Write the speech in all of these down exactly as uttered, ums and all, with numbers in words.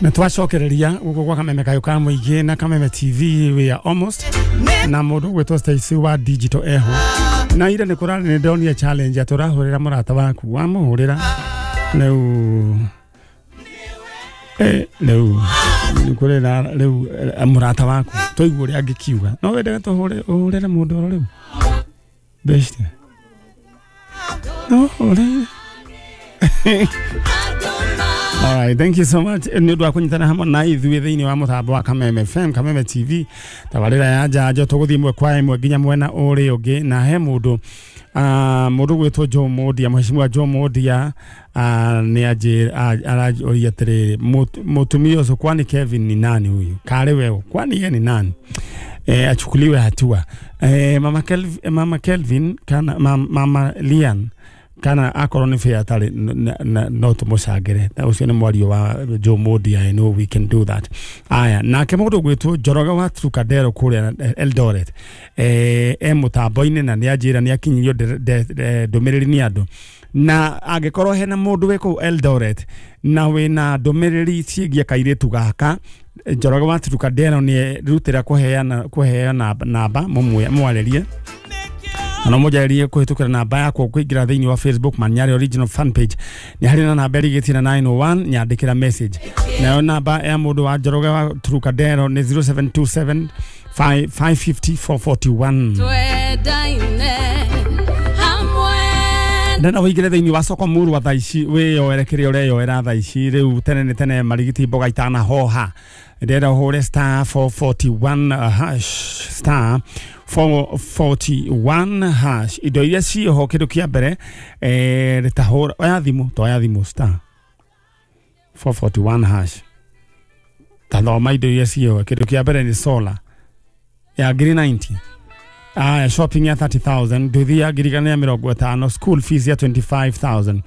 Na twacokereria guku gwa Kameme Kayo ka Muingi na Kameme T V, we are almost na mundu gwitwo Stacy wa digital eho na ire ni kurari ni ndonire challenge aturahurira murata waku wamuhurira riu eh riu nikurira riu murata waku twaigua uria angikiuga no wendega tuhure uhurire mundu oro riu best no ore. All right, thank you so much. Ni undu wa kunyitana hamwe na ithuĩ thĩinĩ wa mũtambo wa Kameme F M, Kameme T V, tabarĩra ya njanjo tũgũthiĩ ĩmwe kwa ĩmwe nginya mwena ũrĩa ũngĩ na he mũndũ uh, mũndũ gwĩtwo Joe Mondia, mheshimiwa Joe Mondia uh, nĩ aranjũria atĩrĩrĩ, mũtumia ũcio kwani Kevin ni nani huyu? Karĩ wewe, kwani yeye ni nani? Eh, achukuliwe hatua. Eh, mama Kelvin, mama Kelvin kana mama, mama Lian kana akorwo ni fair atari no tumucangire ucio ni mwario wa Joe Mondia. I know we can do that. Aya nake mundu gwitwo Njoroge wa Trukadero kuria Eldoret eh e mutambo-ini na ni anjira ni akinyirio ndumiriri ni andu na angikorwo hena mundu wi kuu Eldoret na wina ndumiriri ciĩgiĩ kairitu gaka Njoroge wa Trukadero ni rutira kuheana kuheana namba mumwaririe na moja kuhitukira namba yakwa kuingira thiini wa Facebook Manyari original fan page ni hari na namba ĩrigĩtie na nine oh one nyandikira message nayo namba ya mundu wa Njoroge wa Trukadero ni zero seven two seven five five five zero four four one. Ndena wĩingĩre thĩinĩ wa soko muru wa thaa ici wĩyoere kĩrĩa ũreyoera thaa ici rĩu tene nĩ tene marigiti mboga itanahoha ndĩrenda ũhũre star four forty-one hash star four forty-one hash indo iria ciĩho kĩndũ kĩa mbere eh rĩtahũra oya thimũ toya thimũ star four forty-one hash tathoma indo iria ciĩho kĩndũ kĩa mbere nĩ solar ya ngiri ninety. Ah, shopping ya thirty thousand, nduthi ya ngiri igana rĩa mĩrongo ĩtano, school fees ya twenty-five thousand,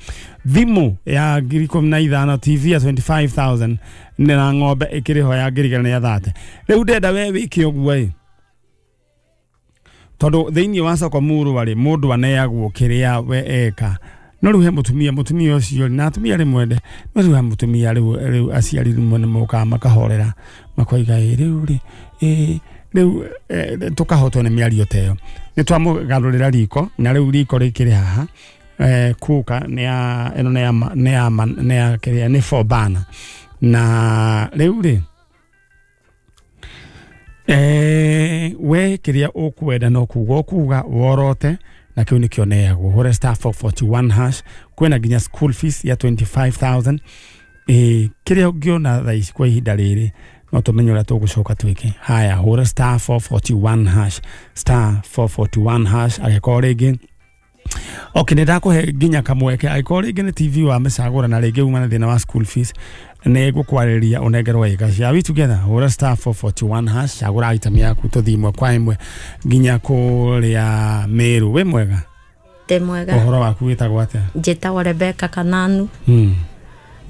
thimu ya ngiri ikũmi na ithano, T V ya twenty-five thousand, na ng'ombe ĩkĩrĩho ya ngiri igana rĩa thate. Rĩu ndenda we wĩke ũguo ĩ tondũ thĩinĩ wa soko muru rĩ mũndũ aneagwo kĩrĩa we eka no rĩu he mũtumia mũtumia ũcio na atumia rĩmwe no rĩu he mũtumia rĩu rĩu aciari rĩmwe nĩmokaga makahorera makoiga ĩ rĩu rĩ ĩ rĩu tukahotwo nĩ mĩario ta ĩyo nĩ twamũgarũrĩra riko na rĩu riko rĩkĩrĩ haha eh kuka nĩ ya ĩno nĩ ya nĩ ya nĩ ya kĩrĩa nĩ four burner na rĩu rĩ eh we kĩrĩa ũkwenda no kuga ũkuga worote na kĩu nĩkĩo neagwo hũre star four forty-one hash kwĩna nginya school fees ya twenty-five thousand eh kĩrĩa ũngĩona thaa ici kwa ihinda rĩrĩ no tumenye ũrĩa tũgũcoka twĩke. Haya hũra star four forty-one hash star four forty-one hash angĩkorwo rĩngĩ okay nĩ ndakũhe nginya kamweke angĩkorwo rĩngĩ nĩ T V wa mĩcagũra na rĩngĩ uma na thĩna wa school fees nĩ ngũkwarĩria ũnengerwo ĩga. Shall we together hũra star four forty-one hash cagũra item yaku tũthiĩ ĩmwe kwa ĩmwe nginya kũrĩa Meru. Wĩ mwega? Ndĩ mwega. Ũhoro waku wĩtagwo atĩa? Njĩtagwo Rebecca Kananu. Mm.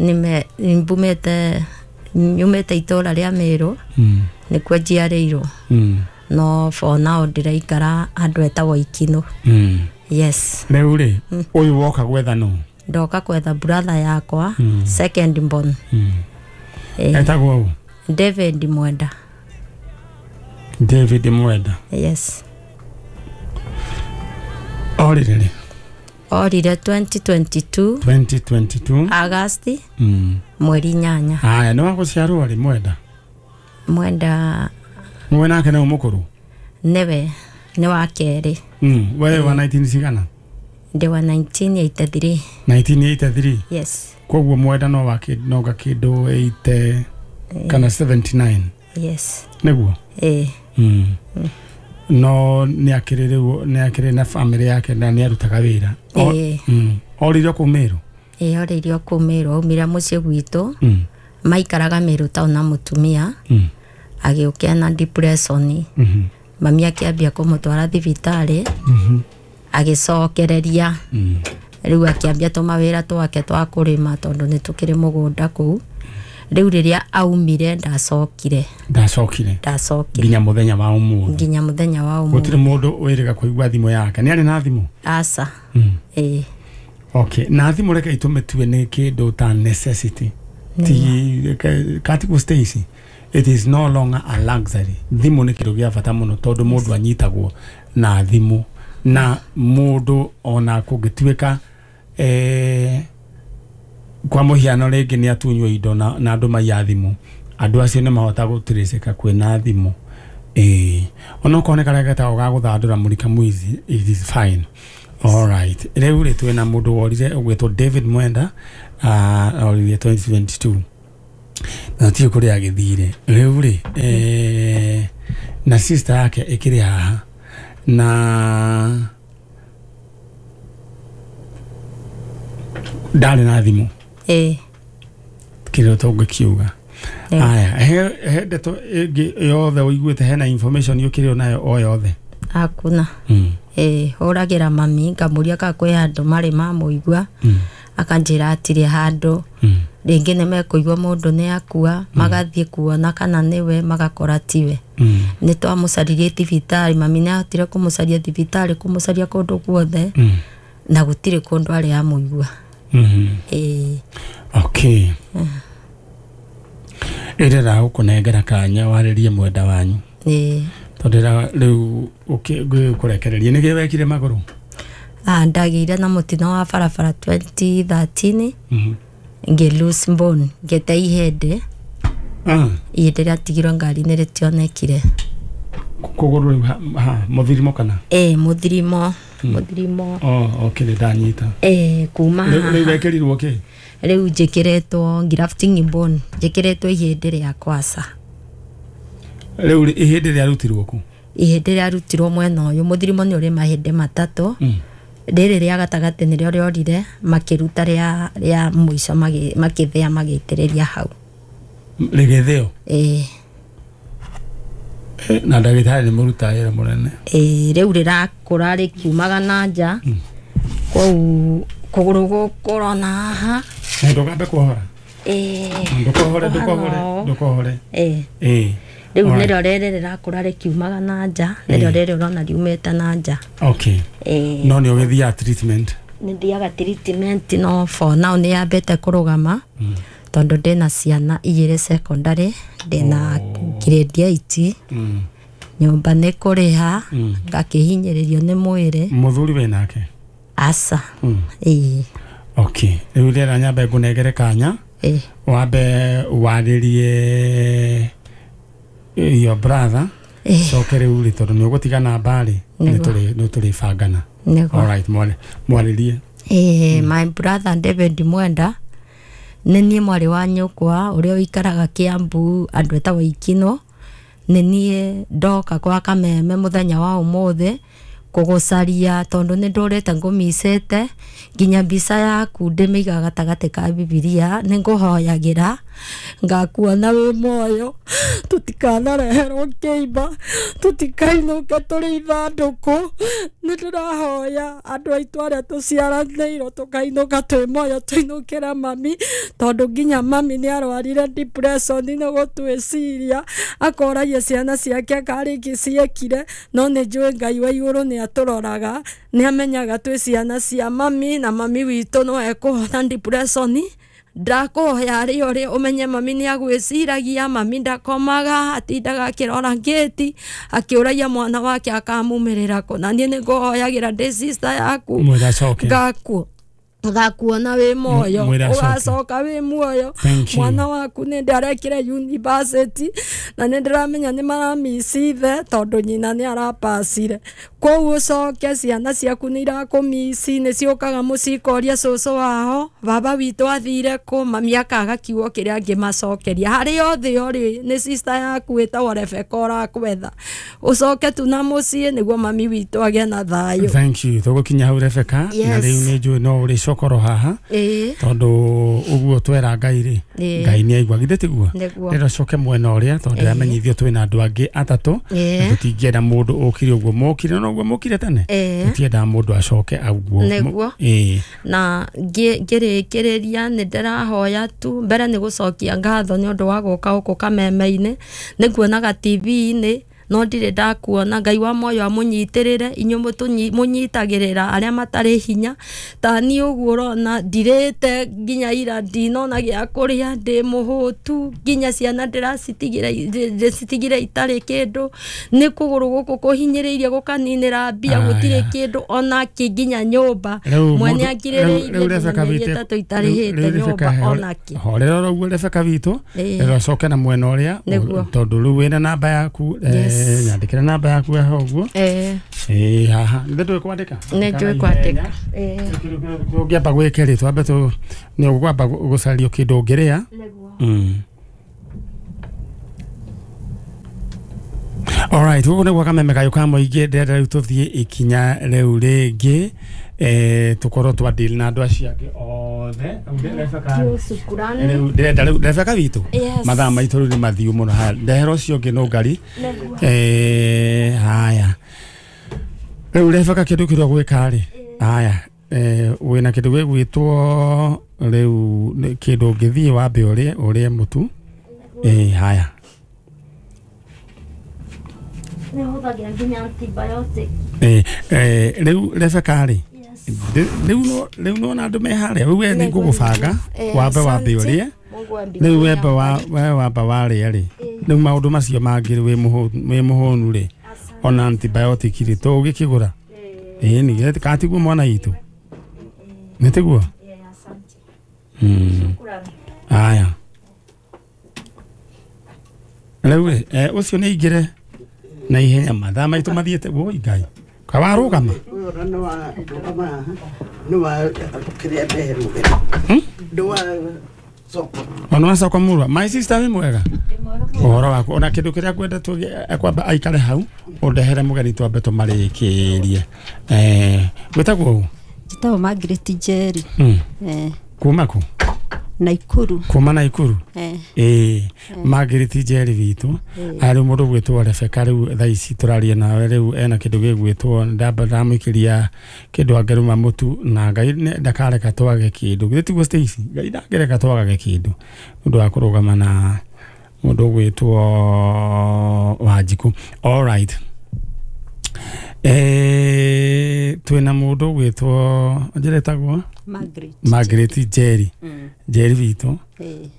Nĩme mbumĩte nyumĩte itũra rĩa Meru. Mm. Nĩkuo njiarĩirwo. Mm. No for now ndĩraikara handũ etagwo Ikino. Mm. Yes. Rĩu rĩ ũyũ woka gwetha nũ? Ndoka kwetha brother yakwa. Mm. Second born. Mm. Eh, etagwo ũ? David Mwenda. David Mwenda. Yes. Orire rĩ? Orire twenty twenty-two twenty twenty-two August. Mm. Mweri inyanya. Haya nĩ wagũciarwo rĩ Mwenda? Mwenda mwe nake nĩ mũkũrũ? Nĩwe nĩ wa kerĩ. Mm. We wa nineteen cigana? Ndĩ wa nineteen eighty-three. nineteen eighty-three? Yes. Koguo Mwenda no wa no ga kĩndũ eighty kana seventy-nine. Yes. Nĩguo? Eh. Mm. No nĩ akĩrĩ rĩu nĩ akĩrĩ na family yake na nĩ arutaga wĩra. Eh. Mm. Oririo kũu Meru? Eh, oririo kũu Meru aumire mũciĩ gwitũ. Mm. Maikaraga Meru town na mũtumia. Mm. Agĩũkia na depression. Mhm. Mami akĩambia kũmũtwara thibitarĩ. Mhm. Agĩcokereria. Mm. Rĩu akĩambia tũmawĩra twake twa kũrĩma tondũ nĩ tũkĩrĩ mũgũnda kũu. Rĩu rĩrĩa aumire ndacokire. Ndacokire. Ndacokire. Nginya mũthenya wa ũmũthĩ. Nginya mũthenya wa ũmũthĩ. Gũtirĩ mũndũ wĩrĩga kũigua thimũ yake. Nĩ arĩ na thimũ? Aca. Mm. Ĩĩ. Okay, na thimũ reke itũmĩtue nĩ kĩndũ ta necessity. Ti kati Stacy, it is no longer a luxury. Thimu nĩ kĩndũ gĩa bata mũno tondũ mũndũ anyitagwo na thimũ, na mũndũ ona kũngĩtuĩka eh, kwa mũhiano rĩngĩ nĩ atunywo indo na, na andũ maiya thimũ, andũ acio nĩ mahota gũtirĩcĩka kwĩna thimũ. Eh, onokorwo nĩ karĩa getagwo ga gũthandũra mũrika mũici, it is fine. All right, rĩu rĩ twĩna mũndũ worire ũgwĩtwo David Mwenda, uh, orire twenty twenty-two na tiũ kũrĩa agĩthire rĩu rĩ eh, na sister yake ĩkĩrĩ haha na ndarĩ na thimũ ĩĩ kĩrĩa tũngĩkiuga. Aya, he he ndeto ĩngĩ yothe ũiguĩte, hena information ũkĩrĩ nayo o yothe? Hakuna. Mm. Ĩĩ, hũragĩra mami ngamũria kana kwĩ handũ marĩ mamũigua, Mm. akanjĩra atirĩ handũ. Mm. Rĩngĩ nĩ mekũigua mũndũ nĩ akua, magathiĩ kuona kana nĩwe, magakora tiwe. Mm. Nĩ twamũcaririe thibitarĩ, mami nĩ ahotire kũmũcaria thibitarĩ, kũmũcaria kũndũ guothe, Mm. na gũtirĩ kũndũ arĩ amũigua. Mm. Ĩĩ. Okay. Ĩrera gũkũnengera kanya warĩrie mwenda wanyu. Ĩĩ. Tondũ rĩu ũkĩkũrekereria nĩkĩ wekire magũrũ? Ah, ndagĩire na mũtino wa barabara twenty thirteen, Mhm. ngĩ lose bone, ngĩte ihĩndĩ. Ah. Ihĩndĩ rĩatigirwo ngari-inĩ rĩtionekire. Kũgũrũ rĩu ha mũthirimo kana? Ĩĩ, mũthirimo, mũthirimo. Oh, okay, nĩ ndanyita. Ĩĩ, kuma Rĩu rĩu wekĩrirwo kĩ? Rĩu njĩkĩrĩtwo grafting bone, njĩkĩrĩtwo ihĩndĩ rĩa kwaca. Rĩu ihĩndĩ rĩarutirwo kũ? Ihĩndĩ rĩarutirwo mwena ũyũ, mũthirimo nĩ ũrĩ mahĩndĩ matatũ. Mm. Rĩrĩ rĩa gatagatĩ nĩrĩo rĩorire, makĩruta rĩa rĩa mũico makĩthĩa magĩitĩrĩria hau. Rĩgĩthĩo? Ĩĩ. Na ndagĩtarĩ nĩ mũruta wĩra mũnene. Ĩĩ, rĩu rĩrakũra rĩkiumaga na nja. Kũu kũgũrũ gũkũ ũrona haha. Na ndũkambe kuohora? Ĩĩ. Ndũkohore, ndũkohore, ndũkohore. Ĩĩ. Ĩĩ. Rĩu nĩrĩo rĩrĩ rĩrakũra rĩkiumaga na nja, nĩrĩo rĩrĩ ũrona riumĩte na nja. Okay. Ĩĩ. No nĩ ũgĩthiaga treatment? Nĩ thiaga treatment, no for now nĩ yambĩte kũrũgama, tondũ ndĩna ciana igĩrĩ secondary, ndĩna grade eight, nyũmba nĩ kũrĩha, ngakĩhinyĩrĩrio nĩ mwĩrĩ. Mũthuri wĩ nake? Aca. Ĩĩ. Okay, rĩu rĩera nyambe ngũnengere kanya, Ĩĩ. wambe warĩrie your brother, coke rĩu rĩ tondũ nĩ ũgũtiga namba rĩ, nĩ tũrĩbangana. Nĩguo. All right, mwarĩrie. Ĩĩ, my brother David Mwenda, nĩ niĩ mwarĩ wa nyũkwa ũrĩa ũikaraga Kiambu, andũ etagwo Ikino. Nĩ niĩ ndoka kwa Kameme mũthenya wa ũmũthĩ kũgũcaria tondũ nĩ ndũrĩte ngũmicĩte, nginya mbica yaku ndĩmĩigaga gatagatĩ ka Bibilia, nĩ ngũhoyagĩra ngakuona wĩ muoyo, tũtikanareherwo kĩimba, tũtikainũke tũrĩ ithandũkũ. Nĩ ndĩrahoya andũ aitũ arĩa tũciaranĩirwo tũkainũka twĩ muoyo, tũinũkĩre mami, tondũ nginya mami nĩ arwarire depression nĩ gũtwĩciria, akoragia ciana ciake karĩngĩ ciekire, no nĩ njũĩ Ngai wa igũrũ nĩ atũroraga, nĩ amenyaga twĩ ciana cia mami, na mami witũ no ekũhona depression. Ndakũhoya arĩ ũrĩ ũmenye mami nĩ agwĩciragia, mami ndakomaga, atindaga akĩrora ngĩti akĩũragia mwana wake akamumĩrĩra kũ, na niĩ nĩ ngũhoyagĩra ndĩ sister yaku ngakuo ngakuona wĩ muoyo, ũgacoka wĩ muoyo. Mwana waku nĩ ndarekire university na nĩ ndĩramenya nĩ maramicithe tondũ nyina nĩ arapacire. Kwoguo ũcoke, ciana ciaku nĩ irakũmici, nĩ ciũkaga mũciĩ ikoria cũcũ wao baba witũ athire kũ, mami akaga kiugo kĩrĩa angĩmacokeria. Harĩa othe ũrĩ nĩ sister yaku ĩtagwo Rebecca ũrakwetha, ũcoke tu na mũciĩ nĩguo mami witũ agĩe na thayũ. Thank you. Tũgũkinya hau Rebecca, na rĩu nĩ njũĩ no ũrĩ cokoro haha, tondũ ũguo twera Ngai rĩ, Ngai nĩ aigua, githĩ tiguo? Rĩrĩa ũcoke mwena ũrĩa, tondũ ndĩramenyithio twĩna andũ angĩ atatũ, na tũtingĩenda mũndũ ũkire ũguo mokire, no ũguo mokire tene, tũtiendaga mũndũ acoke ũguo. Nĩguo. Na ngĩrĩkĩrĩria nĩ ndĩrahoya tu mbere nĩ gũcokia ngatho nĩ ũndũ wa gũka gũkũ Kameme-inĩ, nĩ nguonaga T V-inĩ No ndirĩ ndakuona. Ngai wa moyo amũnyitĩrĩre inyuĩ mũnyitagĩrĩra arĩa matarĩ hinya ta niĩ ũguo ũrona ndirĩte nginya ira ndinona gĩa kũrĩa ndĩ mũhũtu nginya ciana ndĩracitigire ndĩcitigire itarĩ kĩndũ nĩ kũgũrũ gũkũ kũhinyĩrĩirie gũkaninĩra mbia gũtirĩ kĩndũ ona kĩ nginya nyũmba mwene akirĩrĩirie ĩtatũ itarĩhĩte nyũmba ona kĩ. Horera oro ũguo Rebecca witũ ĩrocoke na mwena ũrĩa tondũ rĩu wĩna namba yaku nyandĩkĩra namba yaku haha ũguo ĩĩ haha nĩ ndũĩ kwandĩka nĩ njũĩ kwandĩka tũngĩamba gwĩka rĩ twambe nĩ ũkwamba gũcario kĩndũ ũngĩrĩa. All right, gũkũ nĩ gwa Kameme Kayũ ka Mũingĩ ndĩrenda rĩu tũthiĩ ikinya rĩu rĩngĩ eh tũkorwo twa deal na andũ acio angĩ othe. Rĩu ndĩrenda rĩu Rebecca witũ mathaa maitũ rĩu nĩ mathiu mũno haya ndehera ũcio ũngĩ no ngari eh haya rĩu Rebecca kĩndũ kĩrĩa gwĩka rĩ haya eh wĩna kĩndũ gĩgwĩtwo rĩu kĩndũ ũngĩthiĩ wambe ũrĩe ũrĩe mũtu eh haya eh eh rĩu Rebecca rĩ rĩu no rĩu no na andũ me harĩa rĩu we nĩ ngũgũbanga wambe wambe ũrĩe rĩu wembe wa wamba warĩa rĩ rĩu maũndũ macio mangĩ wĩ mũhũnu rĩ ona antibiotic rĩ tũgĩkĩgũra ĩĩ nĩ katiguo mwana witũ nĩ tiguo. Aya rĩu ũcio nĩ aingĩre na ihenya mathaa maitũ mathiĩte woi Ngai kawarũgama ona wacoka mũrua my sister wĩ mwega ũhoro waku ona kĩndũ kĩrĩa ngwenda kwamba aikare hau ũndehere mũgeni twambe tũmarĩkĩrie eh wĩtagwo ũ? Njĩtagwo Margaret Njeri. Eh kuma kũ? Naikuru. Kuma Naikuru eh eh Margaret Njeri witũ arĩ mũndũ gwĩtwo Rebecca rĩu thaa ici tũraria nawe rĩu ena kĩndũ gĩgwĩtwo ndamba ndamũikĩria kĩndũ angĩrũma mũtu na Ngai ndakareka twage kĩndũ githĩ tiguo Stacy Ngai ndangĩreka twagage kĩndũ nĩ ũndũ wa kũrũgama na mũndũ gwĩtwo Wanjikũ. All right eh twĩna mũndũ gwĩtwo njĩretagwo Margaret Margaret Njeri Njeri witũ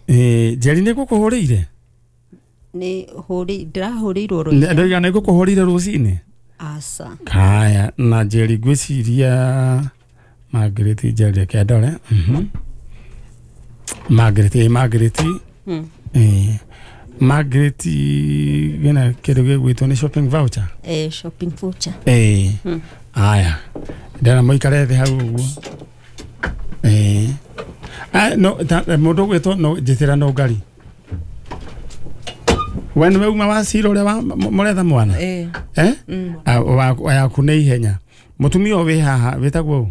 eh Njeri nĩ ngũkũhũrĩire nĩ hũrĩ ndĩrahũrĩirwo rũcinĩ ndoiga nĩ ngũkũhũrĩire rũcinĩ aca kaya na Njeri ngwĩciria Margaret Njeri reke ndore mhm Margaret eh Margaret eh Margaret gena kĩndũ gĩgwĩtwo nĩ shopping voucher eh shopping voucher eh aya ndĩra mũikare thĩ hau ũguo eh ah no mũndũ gwĩtwo no njĩtĩra no ngari we nĩwe uma wa cira ũrĩa mũretha mwana eh eh waku nĩ ihenya mũtumia ũyũ wĩ haha wĩtagwo ũ?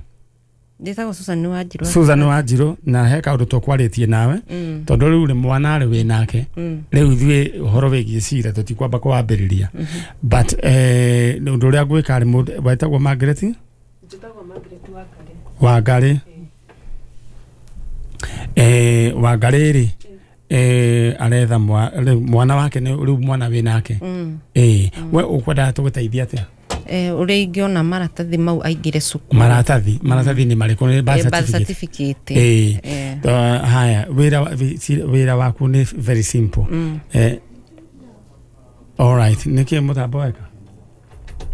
Njĩtagwo Susan Wanjirũ. Susan Wanjirũ na he kaũndũ tũkwarĩtie nawe tondũ rĩu rĩ mwana rĩ wĩ nake rĩu ithuĩ ũhoro wĩgiĩ cira tũtikwamba kũwambĩrĩria but eh ũndũ ũrĩa ngwĩka rĩ wetagwo Margaret Njĩtagwo Margaret Wangarĩ Wangarĩ eh Wangarĩ rĩ eh aretha mwana wake nĩ rĩu mwana wĩ nake eh we ũkwendaga tũgũteithia atĩa? Eh ũrĩa ingĩona maratathi mau aingĩre cukuru maratathi maratathi nĩ marĩkũ nĩ birth certificate eh haya wĩra wĩra waku nĩ very simple eh all right nĩkĩ mũtambo weka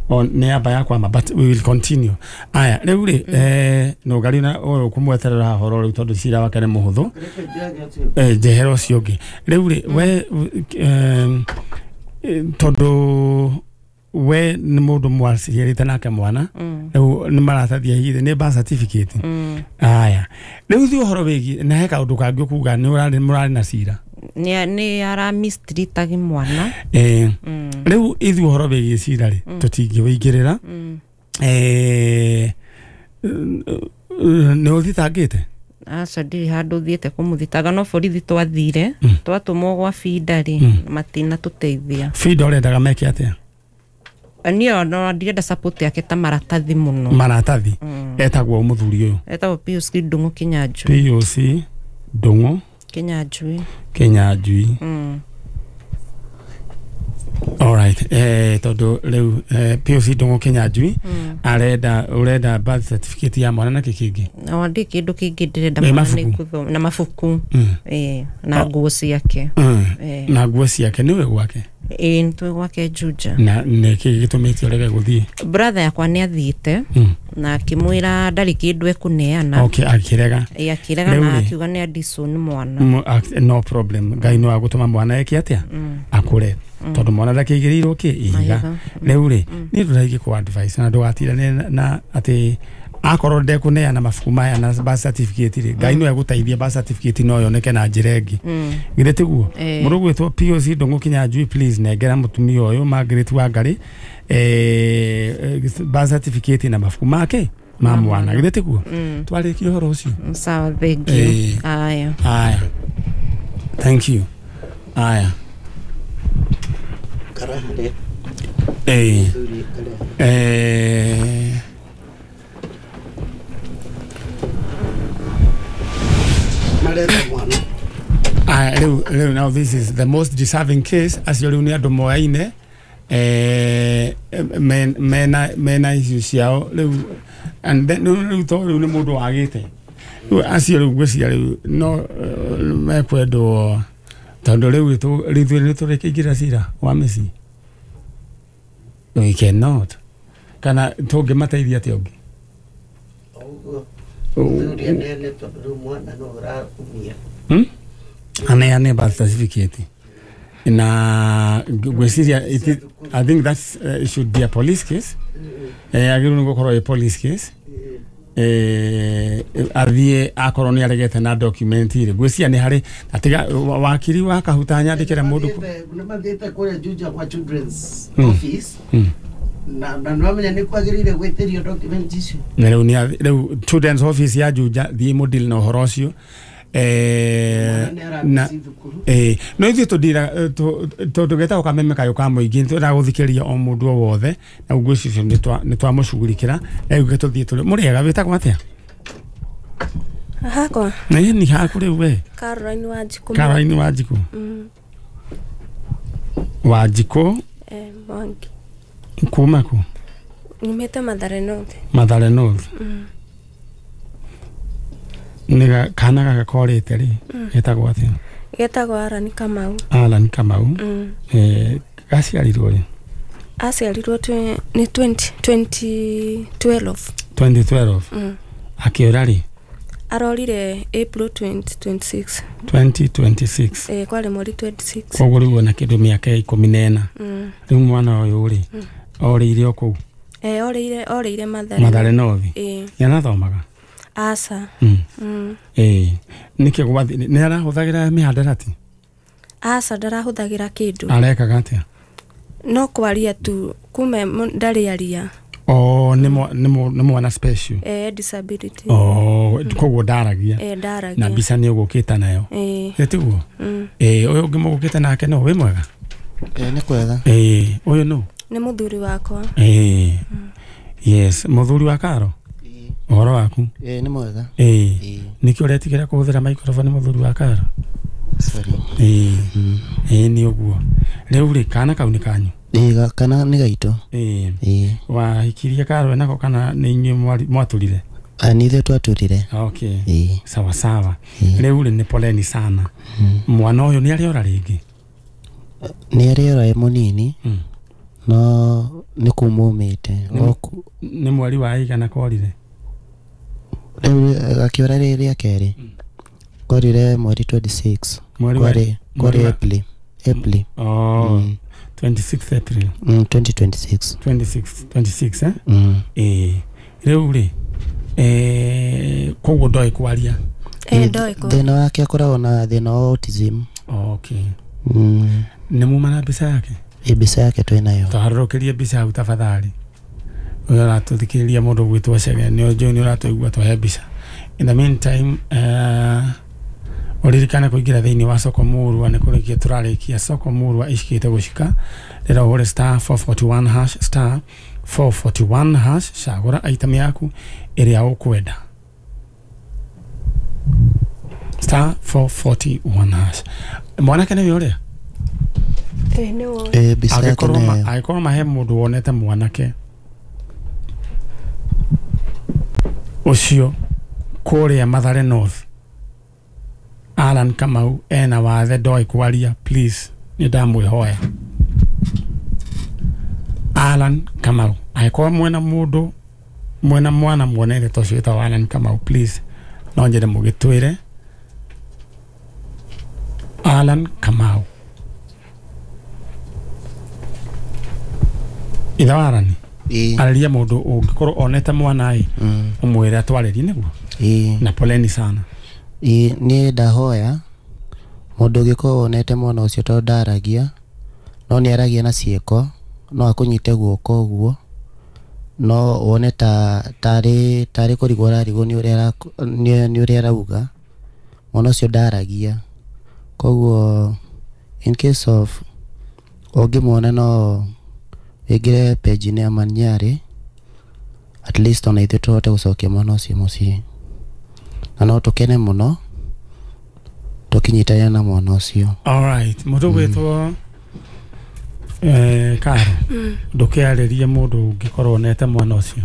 o nĩ amba yakwama but we will continue aya rĩu rĩ eh no ngari na ũyũ kũmweterera horo rĩu tondũ cira wake nĩ mũhũthũ eh njehera ũcio ũngĩ rĩu rĩ we tondũ we nĩ mũndũ mwaciarĩte nake mwana rĩu nĩ maratathi hihi nĩ birth certificate aya rĩu thiĩ ũhoro wĩgiĩ na he kaũndũ kangĩ ũkuga nĩ ũrarĩ mũrarĩ na cira nĩ nĩ ara mistreatagi mwana eh rĩu ithuĩ ũhoro wĩgiĩ cira rĩ tũtingĩwĩingĩrĩra eh nĩ ũthitangĩte? Aca ndirĩ handũ thiĩte kũmũthitanga no borithi twathire twatũmwo gwa Binda rĩ matinatũteithia. Binda ũrendaga meke atĩa? Niĩ no ndirenda support yake ta maratathi mũno maratathi etagwo mũthuri ũyũ etagwo Pius Ndung'u Kinyanjui Pius Ndung'u Kinyanjui Kinyanjui mm. Alright, eh tondu riu eh, P O C Ndung'u Kinyanjui arenda urenda birth certificate ya mwana na kikingi no ndi kindu kingi ndirenda Eh, mwana mabuku. nĩ kuthoma na mabuku Mm. eh na nguo ciake Mm. eh Na nguo ciake niwe gwake ĩĩ nĩtwĩ gwake Juja na nĩkĩ gĩtũmĩte ũrege gũthiĩ brother yakwa nĩ athiĩte Mm. na akĩmwĩra ndarĩ kĩndũ ekũneana Okay, akĩrega ĩ akĩrega Rĩu na rĩ. akiuga nĩ adison mwana Mu- ak- no problem ngai no agũtũma mwana eke atĩa akũre tondũ mwana ndakĩigĩrĩirwo kĩ ihiga Mahiga. rĩu rĩ niĩ ndũraingĩ kũ advice na ndũgatirane na- na atĩ akorwo ndekũneana mabuku maya na birth certificate rĩ ngai no egũteithia birth certificate no yoneke na njĩra ĩngĩ githĩ tiguo Eh. mũndũ ũgwĩtwo P O C Ndung'u Kinyanjui please nengera mũtumia ũyũ Margaret Wangari eh, birth certificate na mabuku make ma mwana githĩ tiguo twarĩkia ũhoro ũcio sawa thank you Eh. aya Aya. Thank you. Aya. Karahare Eh. thuri kareha Eh. mareta mwana Aya, rĩu rĩu now this is the most deserving case acio rĩu nĩ andũ moyaine eh men mena mena issue ciao rĩu and then rĩu rĩu to rĩu nĩ mũndũ wagĩte rĩu acio rĩu ngwĩciria rĩu no eh, mekwendwo tondũ rĩu ithuĩ nĩ tũrĩkĩingĩra cira wa mĩciĩ we cannot kana tũngĩmateithia atĩa ũngĩ ũguo thuri aneane tondũ rĩu mwana no ũraumia Hmm? Aneane birth certificate na ngwĩciria it is- I think that uh, should be a police case eh agĩrĩirwo nĩ gũkorwo ĩ police case eh athiĩ akorwo nĩ aregete na document rĩ ngwĩciria nĩ harĩ atiga wakiri wa kahuta nyandĩkĩre mũndũ kũ- nĩ mathiĩte kũrĩa Juja kwa children's Mm. office Mm. na na nĩwamenya nĩ kwagĩrĩire gwĩtĩrio document icio na rĩu nĩ athi- rĩu children's office ya Juja thiĩ mũdeal na ũhoro ũcio eh mwana nĩ na aramĩci thukuru ĩĩ no ithuĩ tũndira tondũ getagwo kameme kayũ ka mũingĩ nĩtwendaga gũthikĩrĩria o mũndũ o wothe na ngwĩciria nĩ twamũcugurikĩra rĩu gĩ tũthiĩ tũrĩ mũrĩega wĩtagwo atĩa Hakwa na ni haku rĩu we Caroline Wanjikũ Caroline Wanjikũ Mm, Wanjikũ eh, Mwangi kuma kũ nyumĩte Mathare North Mathare North Mm. nĩ ga- kana gaka korĩte rĩ getagwo atĩa getagwo Aran Kamau Alan Kamau mm. eh gaciarirwo rĩ aciarirwo twe- nĩ twenty twenty twelve twenty twelve mm. akĩũra rĩ arorire April twenty twenty-six twenty twenty-six eh, kwarĩ mweri twenty-six koguo rĩu ona kĩndũ mĩaka ikũmi na ĩna mm. rĩu mwana ũyũ rĩ orĩire o kũu eh, orĩire orĩire Mathare Mathare North eh, nĩarathomaga aca Mm. mm. ĩĩ nĩkĩ gwathi nĩ arahũthagĩra mĩhandarati aca ndarahũthagĩra kĩndũ arekaga atĩa no kwaria tu kume ndarĩ aria o nĩ mwa- nĩ mwa- nĩ mwana special eh, disability o koguo ndaragia eh, na ndaragia mbica nĩ ũgũkĩte nayo eh, ĩ tiguo mm. ĩĩ ũyũ ũngĩ mũgũkĩte nake no wĩ mwega ĩĩ nĩ kwega ĩĩ ũyũ nũ nĩ mũthuri wakwa ĩĩ yes mũthuri wa karo ũhoro waku ĩĩ nĩ mwega ĩĩ ĩĩ nĩkĩ ũretigĩra kũhũthĩra microphone mũthuri wa karo sorry ĩĩ ĩĩ nĩ ũguo rĩu rĩ kana kau nĩ kanyu ĩĩ ga- kana nĩ gaitũ ĩĩ ĩĩ wahikirie karo nako kana nĩ inyuĩ mwari- mwatũrire nĩ ithuĩ twatũrire okay ĩĩ sawa sawa Ĩĩ. rĩu rĩ nĩ poleni sana mwana ũyũ nĩ arĩora rĩngĩ nĩ arĩora ĩ mũnini Mm. no nĩ kumũmĩte nĩ mweri wa igana korire rĩu akĩora rĩ rĩa kerĩ korire mweri twenty-six Mweri wa- kwarĩ mweri kwarĩ wa- April April oh Mm. twenty-sixth April mm, twenty twenty-six twenty-six twenty-six eh mm. ĩĩ rĩu rĩ eh koguo ndoĩ kwaria eh, ndoĩ kwa thĩna wake akoragwo na thĩna wa autism okay mm. nĩ muma na mbica yake ĩ mbica yake twĩ nayo tũharũrũkĩrie mbica hau tafadhali ũyũ ũratũthikĩrĩria mũndũ ũgwĩtwo Chege nĩ ũnjũĩ nĩ ũratũigua tũhe mbica in the meantime uh, ũririkane kũingĩra thĩinĩ wa soko murwa nĩ kũrĩkia tũrarĩkia soko murwa icikĩte gũcika rĩra ũhũre star four forty-one hash star four forty-one hash cagũra item yaku ĩrĩa ũkwenda star four forty-one hash mwanake nĩwe ũrĩa Ĩĩ nĩ woĩ. Ĩĩ mbica yake Angĩkorwo ma- nĩyo. Angĩkorwo ma he mũndũ wonete mwanake ũcio kũrĩa Mathare North, Alan Kamau ena wathe ndoĩ kwaria, please nĩ ndamwĩhoya. Alan Kamau, angĩkorwo mwena mũndũ mwena mwana muonete ta ũcio wĩtagwo Alan Kamau, please no nyende mũgĩtwĩre Alan Kamau. Ithe wa Alan, Ĩĩ. arĩria mũndũ ũngĩkorwo onete mwana ĩ, Mm. ũmwĩre atwarĩrie nĩguo. Ĩĩ. Na poleni sana. Ĩĩ niĩ ndahoya mũndũ ũngĩkorwo wonete mwana ũcio, tondũ ndaragia no nĩ aragia na ciĩko, no akũnyite guoko ũguo no wone ta tarĩ tarĩ kũrigwo ararigwo nĩ ũrĩa araku- nĩ nĩ ũrĩa arauga. Mwana ũcio ndaragia, koguo in case of ũngĩmuona no wĩingĩre page-inĩ ya Manyarĩ, at least ona ithuĩ tũhote gũcokia mwana ũcio mũciĩ, na no tũkene mũno tũkĩnyitanĩra na mwana ũcio. Alright, mũndũ gwĩtwo eh, Karo, ndũkĩarĩrie mũndũ ũngĩkorwo onete mwana ũcio.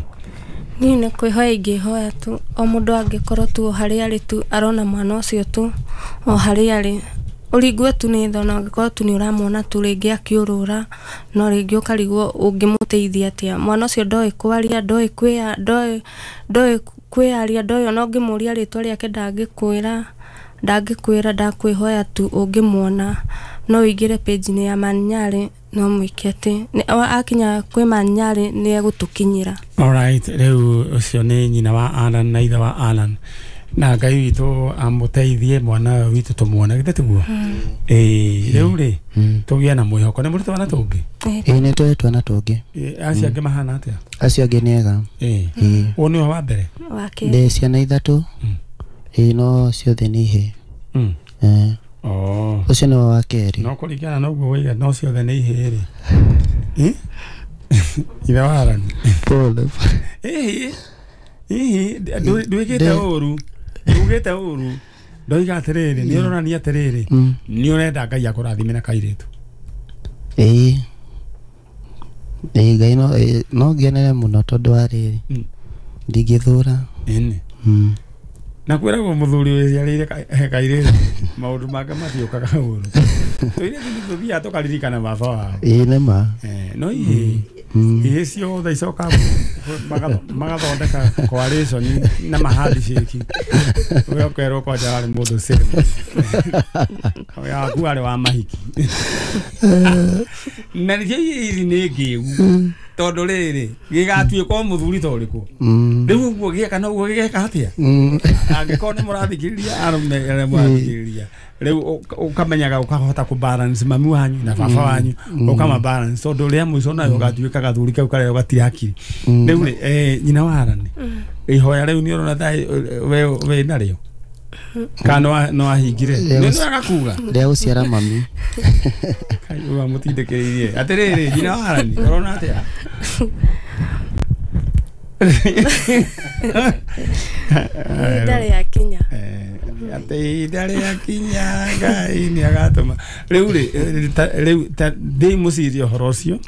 Niĩ nĩ kwĩhoya ingĩhoya tu, o mũndũ angĩkorwo tu o harĩa arĩ tu arona mwana ũcio tu o harĩa arĩ, ũringwe tu nĩ tha, ona angĩkorwo tu nĩ ũramuona tu rĩngĩ akĩũrũra, no rĩngĩ ũkarigwo ũngĩmũteithia atĩa. Mwana ũcio ndoĩ kwaria, ndoĩ kwĩa ndoĩ ndoĩ kwĩyaria, ndoĩ ona ũngĩmũria rĩtwa rĩake ndangĩkwĩra, ndangĩkwĩra. Ndakwĩhoya tu ũngĩmuona no ũingĩre page-inĩ ya Manyarĩ, no mwĩke atĩ nĩ- akinya kwĩ Manyarĩ nĩ egũtũkinyĩra. Alright, rĩu ũcio nĩ nyina wa Alan na ithe wa Alan, na Ngai witũ amũteithie mwana ũyũ witũ tũmuone, githĩ tiguo? Ĩĩ, rĩu rĩ Mm. tũgĩe na mwĩhoko nĩ mũrĩ twana tũngĩ? Ĩĩ. Ĩĩ nĩ tũrĩ twana tũngĩ. Ĩ, acio angĩ mahana atĩa? Acio angĩ nĩ ega. Ĩĩ, Ĩĩ. ũyũ nĩwe wa mbere? Wa kerĩ. Ndĩ ciana ithatũ. Mm. Ĩĩ no ciothe nĩ ihĩĩ. Mm. Eh, Oh. ũcio nĩwe wa kerĩ. No kũringana na ũguo waiga no ciothe nĩ ihĩĩ rĩ. Ĩ? Ithe wa Alan. Pole. Ĩhĩ, ĩhĩ, ndwĩkĩte Ndĩ- ũru, ndugĩte ũru, ndoiga atĩrĩrĩ, nĩ ũronania atĩrĩrĩ, Mm. nĩ ũrenda Ngai akũrathime na kairĩtu. Ĩĩ. Ĩĩ Ngai no ĩĩ, no ngenere mũno tondũ wa rĩrĩ, Mm. ndingĩthũra. Ĩni. Mm. Na kwĩragwo mũthuri wĩciarĩire ka- kairĩtu maũndũ make matiũkaga ũru. Tũirĩtu nĩ tũthiaga tũkaririkana baba wao. Ĩĩ nĩ ma. Eh, no ihĩĩ, Mm. ihĩĩ ciothe icokaga magatho- magathondeka coalition na mahandshake, we ũkerwo kwanja warĩ mũndũ same waku warĩ wa mahiki, na nĩkĩo ihĩĩ ici nĩ ngĩgu, tondũ rĩrĩ gĩgatuĩka o mũthuri ta ũrĩkũ. Mm. Rĩu ũguo gĩeka na ũguo gĩgeka atĩa? Mm. Angĩkorwo nĩ mũrathikĩrĩria, arũme arĩa mũrathikĩrĩria rĩu, ũka- ũkamenyaga ũkahota kũ balance mami wanyu na baba wanyu, ũkama balance, tondũ rĩa mũico nayo ũgatuĩka gathuri kau karĩa gatirĩ hakiri. Mm. Rĩu rĩ, eh, nyina wa Alan, ihoya rĩu nĩ ũrona tha we wĩ narĩo kana no wa- no wahingire Rĩa nĩ gũci- agakuga Rĩa gũciara mami. Ũyũ amũtindĩkĩrĩirie atĩrĩrĩ, nyina wa Alan, ũrona atĩa? Ihinda rĩakinya. Eh, atĩ ihinda rĩakinya Ngai nĩ agatũma. Rĩu rĩ, eh, ta- rĩu ta- ndĩ mũcirie ũhoro ũcio.